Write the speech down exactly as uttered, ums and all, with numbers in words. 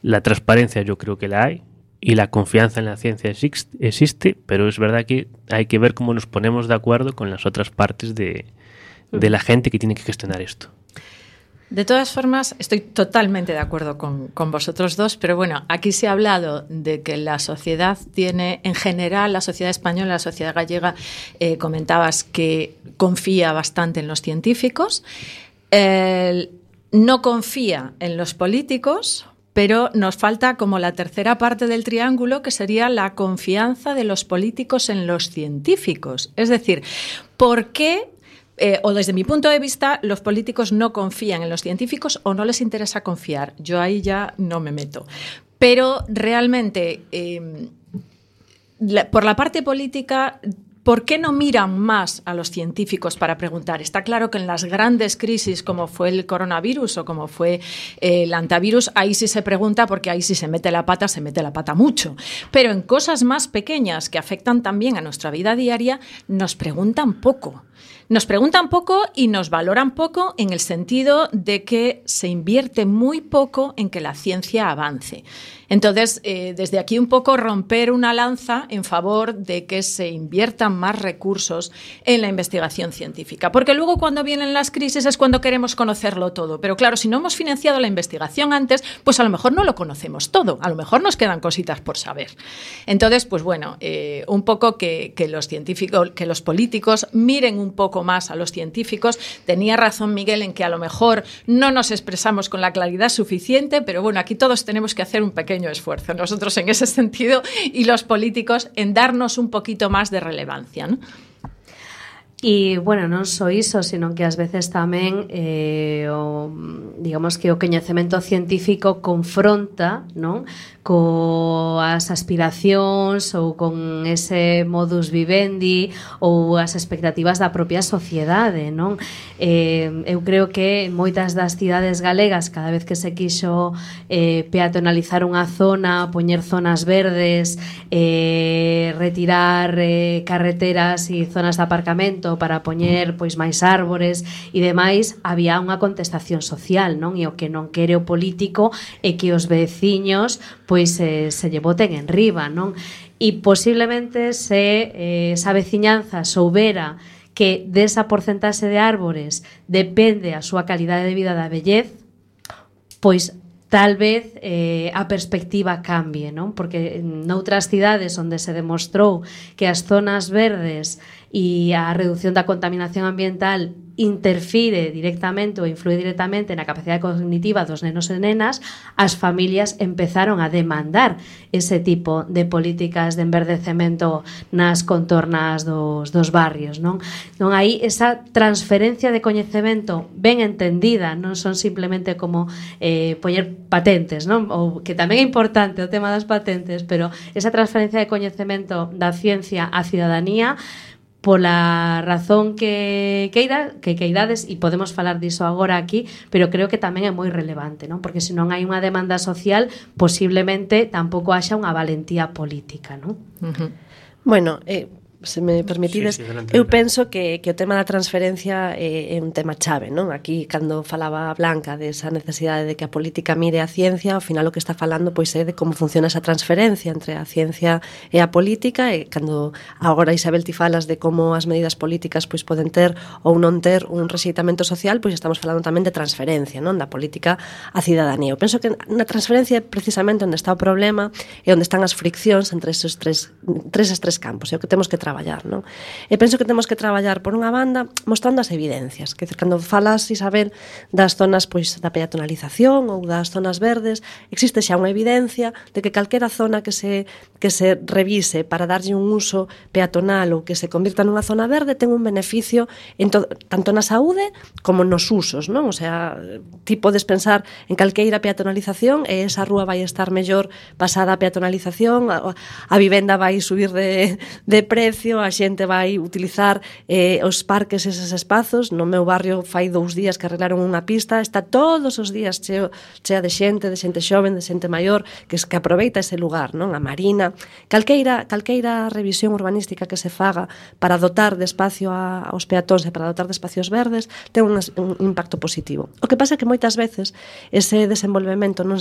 La transparencia yo creo que la hay y la confianza en la ciencia existe, pero es verdad que hay que ver cómo nos ponemos de acuerdo con las otras partes de, de la gente que tiene que gestionar esto. De todas formas, estoy totalmente de acuerdo con, con vosotros dos, pero bueno, aquí se ha hablado de que la sociedad tiene, en general, la sociedad española, la sociedad gallega, eh, comentabas que confía bastante en los científicos, eh, no confía en los políticos, pero nos falta como la tercera parte del triángulo, que sería la confianza de los políticos en los científicos. Es decir, ¿por qué? Eh, o desde mi punto de vista, los políticos no confían en los científicos o no les interesa confiar. Yo ahí ya no me meto. Pero realmente, eh, la, por la parte política, ¿por qué no miran más a los científicos para preguntar? Está claro que en las grandes crisis, como fue el coronavirus o como fue eh, el antivirus, ahí sí se pregunta, porque ahí sí se mete la pata, se mete la pata mucho. Pero en cosas más pequeñas que afectan también a nuestra vida diaria, nos preguntan poco. Nos preguntan poco y nos valoran poco en el sentido de que se invierte muy poco en que la ciencia avance. Entonces, eh, desde aquí un poco romper una lanza en favor de que se inviertan más recursos en la investigación científica. Porque luego cuando vienen las crisis es cuando queremos conocerlo todo. Pero claro, si no hemos financiado la investigación antes, pues a lo mejor no lo conocemos todo. A lo mejor nos quedan cositas por saber. Entonces, pues bueno, eh, un poco que, que los científicos, que los políticos miren un poco más a los científicos. Tenía razón Miguel en que a lo mejor no nos expresamos con la claridad suficiente, pero bueno, aquí todos tenemos que hacer un pequeño esfuerzo, nosotros en ese sentido y los políticos en darnos un poquito más de relevancia, ¿no? E, bueno, non só iso, sino que ás veces tamén eh, o, digamos que o coñecemento científico confronta, non, coas aspiracións ou con ese modus vivendi ou as expectativas da propia sociedade, non? Eh, eu creo que moitas das cidades galegas, cada vez que se quixo eh, peatonalizar unha zona, poñer zonas verdes, eh, retirar eh, carreteras e zonas de aparcamento para poñer pois máis árbores e demais, había unha contestación social, non? E o que non quere o político é que os veciños pois eh, se lle boten en riba, non? E posiblemente se eh, esa veciñanza soubera que desa porcentaxe de árbores depende a súa calidade de vida da vellez, pois tal vez eh, a perspectiva cambie, non? Porque noutras cidades onde se demostrou que as zonas verdes e a reducción da contaminación ambiental interfire directamente ou influe directamente na capacidade cognitiva dos nenos e nenas, as familias empezaron a demandar ese tipo de políticas de enverdecemento nas contornas dos, dos barrios, non? Non hai esa transferencia de coñecemento ben entendida, non son simplemente como eh, poñer patentes, non? Ou que tamén é importante o tema das patentes, pero esa transferencia de coñecemento da ciencia á cidadanía pola razón que queira, que queirades, e podemos falar diso agora aquí, pero creo que tamén é moi relevante, non? Porque se non hai unha demanda social, posiblemente tampouco haxa unha valentía política, non? Uh-huh. Bueno, eh, se me permitides, sí, sí, delante, eu penso que, que o tema da transferencia é, é un tema chave, non? Aquí, cando falaba Blanca desa necesidade de que a política mire a ciencia, ao final o que está falando pois é de como funciona esa transferencia entre a ciencia e a política, e cando agora Isabel ti falas de como as medidas políticas pois poden ter ou non ter un rexeitamento social, pois estamos falando tamén de transferencia, non? Da política á cidadanía. Eu penso que na transferencia é precisamente onde está o problema e onde están as friccións entre esos tres, tres, esos tres campos, é o que temos que traballar. Non? E penso que temos que traballar por unha banda mostrando as evidencias, que cando falas, Isabel, das zonas pois da peatonalización ou das zonas verdes, existe xa unha evidencia de que calquera zona que se que se revise para darlle un uso peatonal ou que se convirta nunha zona verde ten un beneficio en to, tanto na saúde como nos usos, non? O sea, ti podes pensar en calqueira peatonalización e esa rúa vai estar mellor pasada a peatonalización, a, a vivenda vai subir de, de precio, ocio, a xente vai utilizar eh, os parques, eses espazos. No meu barrio fai dous días que arreglaron unha pista, está todos os días cheo, chea de xente, de xente xoven, de xente maior, que, que aproveita ese lugar, non? A marina, calqueira, calqueira revisión urbanística que se faga para dotar de espacio a, aos peatóns e para dotar de espacios verdes ten un, un impacto positivo. O que pasa é que moitas veces ese desenvolvemento non